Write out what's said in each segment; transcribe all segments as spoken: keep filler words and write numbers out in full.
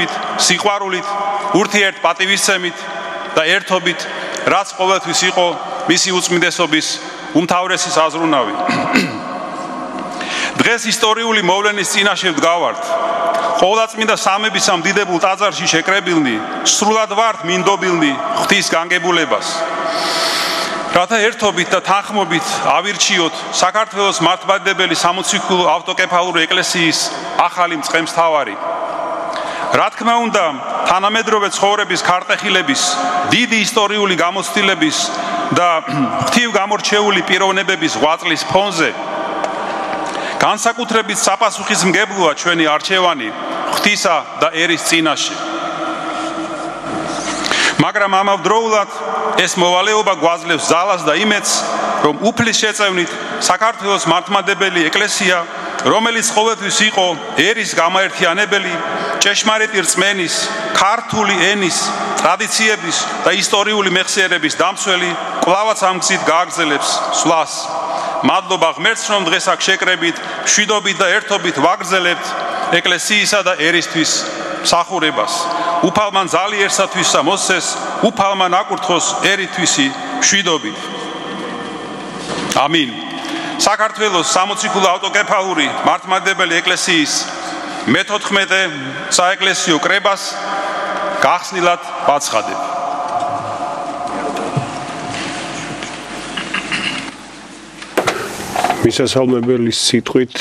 საშიშრობით, სიყვარულით, ურთიერთ პატივისცემით და ერთობით, რაც ყოველთვის იყო მისი უწმინდესობის უმთავრესი საზრუნავი. დღეს ისტორიული მოვლენის წინაშე ვდგავართ. ყოვლადწმინდა სამების ამ დიდებულ ტაძარში შეკრებილნი, სრულად ვართ მინდობილნი ღვთის განგებულებას. რათა ერთობით და თანხმობით ავირჩიოთ საქართველოს მართლმადიდებელი სამოციქულო ავტოკეფალური ეკლესიის ახალი მწყემსთავარი. რა თქმა უნდა, თანამედროვე ცხოვრების ქარტეხილების, დიდი ისტორიული გამოცდილების და ღვთივ გამორჩეული პიროვნებების ღვაწლის ფონზე განსაკუთრებით საპასუხისმგებლოა ჩვენი არჩევანი ღვთისა და ერის წინაშე. მაგრამ ამავდროულად ეს მოვალეობა გვაძლევს ძალას და იმედს, რომ უფლის შეწევნით საქართველოს მართლმადიდებელი ეკლესია, რომელიც ყოველთვის იყო ერის გამაერთიანებელი, ჭეშმარიტი რწმენის, ქართული ენის, ტრადიციების და ისტორიული მეხსიერების დამცველი, კვლავაც ამ გზით გააგრძელებს სვლას. მადლობა ღმერთს, რომ დღეს აქ შეკრებით, მშვიდობით და ერთობით ვაგრძელებთ ეკლესიისა და ერისთვის მსახურებას. უფალმან ძალიერსათვისა მოსცეს, უფალმან აკურთხოს ერითვისი მშვიდობით. ამინ. საქართველოს სამოციქულო ავტოკეფალური მართლმადიდებელი ეკლესიის მეთოთხმეტე საეკლესიო კრებას გახსნილად ვაცხადებ. მისასალმებელი სიტყვით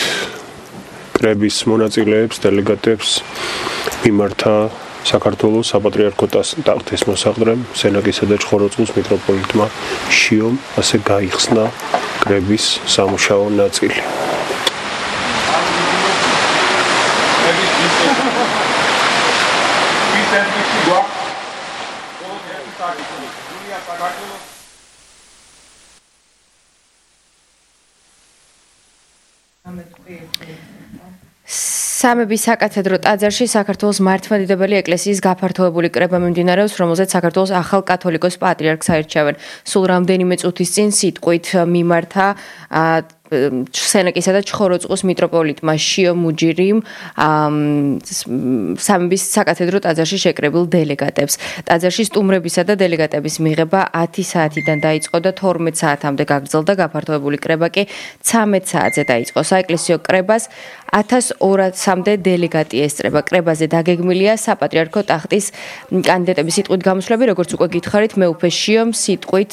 კრების მონაწილეებს, დელეგატებს მიმართა საქართველოს საპატრიარქო ტახტის მოსაყდრემ, სენაკისა და ჩხოროწყუს მიტროპოლიტმა შიომ, ასე გაიხსნა კრების სამუშაო ნაწილი. სამების საკათედრო ტაძარში საქართველოს მართლმადიდებელი ეკლესიის გაფართოებული კრება მიმდინარეობს, რომელზეც საქართველოს ახალ კათოლიკოს პატრიარქს აირჩევენ. სულ რამდენიმე წუთის წინ სიტყვით მიმართა სენაკისა და ჩხოროწყუს მიტროპოლიტმა შიო მუჯირიმ სამების საკათედრო ტაძარში შეკრებილ დელეგატებს. ტაძარში სტუმრებისა და დელეგატების მიღება ათი საათიდან დაიწყო და თორმეტ საათამდე გაგრძელდა. გაფართოებული კრება კი ცამეტ საათზე დაიწყო. საეკლესიო კრებას ათას ორასამდე დელეგატი ესწრება. კრებაზე დაგეგმილია საპატრიარქო ტახტის კანდიდატების სიტყვით გამოსვლები, როგორც უკვე გითხარით, მეუფე შიომ სიტყვით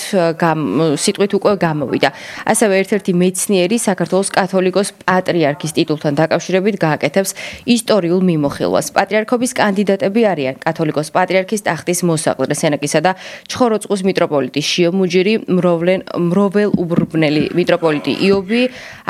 სიტყვით უკვე გამოვიდა. ასევე ერთ-ერთი მეცნიერი საქართველოს კათოლიკოს პატრიარქის ტიტულთან დაკავშირებით გააკეთებს ისტორიულ მიმოხილვას. პატრიარქობის კანდიდატები არიან კათოლიკოს პატრიარქის ტახტის მოსაყდრე სენაკისა და ჩხოროწყუს მიტროპოლიტი შიო მუჯირი, მროველუბრბნელი მიტროპოლიტი იობი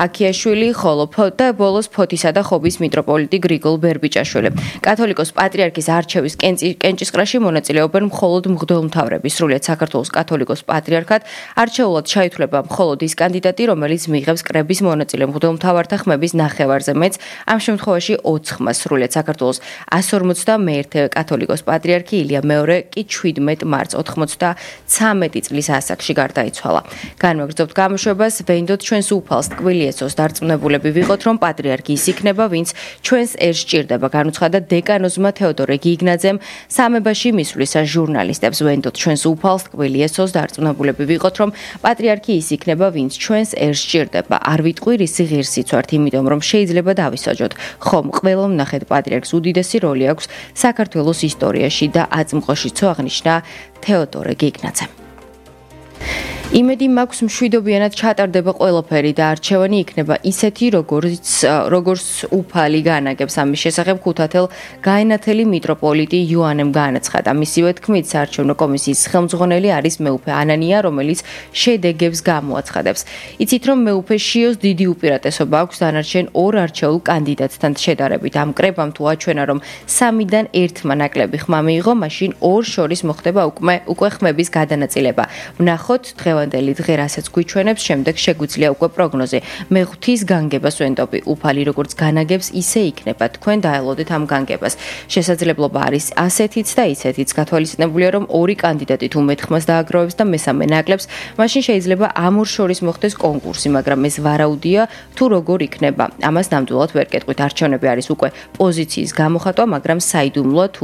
აქიაშვილი, ხოლო და ბოლოს ფოთისა და ხობის მიტროპოლიტი გრიგოლ ბერბიჭაშვილი. კათოლიკოს პატრიარქის არჩევის კენჭისყრაში მონაწილეობენ მხოლოდ მღვდელმთავრები. სრულიად საქართველოს კათოლიკოს პატრიარქად არჩეულად ჩაითვლება მხოლოდ ის კანდიდატი, რომელიც მიიღებს კრების მონაწილე მღვდელმთავართა ხმების ნახევარზე, მეც ამ შემთხვევაში ოც ხმას. სრულიად საქართველოს ასი ორმოცდამეერთე კათოლიკოს პატრიარქი ილია მეორე კი შვიდმეტ მარტს ოთხმოცდაცამეტი წლის ასაკში გარდაიცვალა. განმეგრძობთ გამოშვებას, ვენდოთ ჩვენს უფალს ტკბილი ეცოს დარწმუნებულები ვიყოთ, რომ პატრიარქი ის იქნება, ვინც ჩვენს ერს ჭირდება, განუცხადა დეკანოზმა თეოდორე გიგნაძემ სამებაში მისვლისას ჟურნალისტებს. ვენდოთ ჩვენს უფალს ტკბილი ეცოს დარწმუნებულები ვიყოთ, რომ პატრიარქი ის იქნება, ვინც ჩვენს ერს ჭირდება. არ ვიტყვი რისი ღირსიც ვართ, იმიტომ რომ შეიძლება დავისაჯოთ. ხომ ყველა ვნახეთ პატრიარქს უდიდესი როლი აქვს საქართველოს ისტორიაში და აწმყოშიცო აღნიშნა თეოდორე გიგნაძემ. იმედი მაქვს მშვიდობიანად ჩატარდება ყველაფერი და არჩევანი იქნება ისეთი, როგორც როგორც უფალი განაგებს. ამის შესახებ ქუთათელ გაენათელი მიტროპოლიტი იოანემ განაცხადა. მისივე თქმით, საარჩევნო კომისიის ხელმძღვანელი არის მეუფე ანანია, რომელიც შედეგებს გამოაცხადებს. იცით, რომ მეუფე შიოს დიდი უპირატესობა აქვს დანარჩენ ორ არჩეულ კანდიდატთან შედარებით. ამ კრებამ თუ აჩვენა, რომ სამიდან ერთმა ნაკლები ხმა მიიღო, მაშინ ორ შორის მოხდება უკვე უკვე ხმების გადანაწილება. ვნახოთ დღევანდელი დღე რასაც გვიჩვენებს, შემდეგ შეგვიძლია უკვე პროგნოზი. მე ღვთის განგებას ვენდობი, უფალი როგორც განაგებს, ისე იქნება. თქვენ დაელოდეთ ამ განგებას. შესაძლებლობა არის ასეთიც და ისეთიც. გათვალისწინებულია, რომ ორი კანდიდატი თუ მეტ ხმას დააგროვებს და მესამე ნაკლებს, მაშინ შეიძლება ამ ორ შორის მოხდეს კონკურსი, მაგრამ ეს ვარაუდია თუ როგორ იქნება. ამას ნამდვილად ვერ კეტყვით. არჩევნები არის უკვე პოზიციის გამოხატვა, მაგრამ საიდუმლოა თუ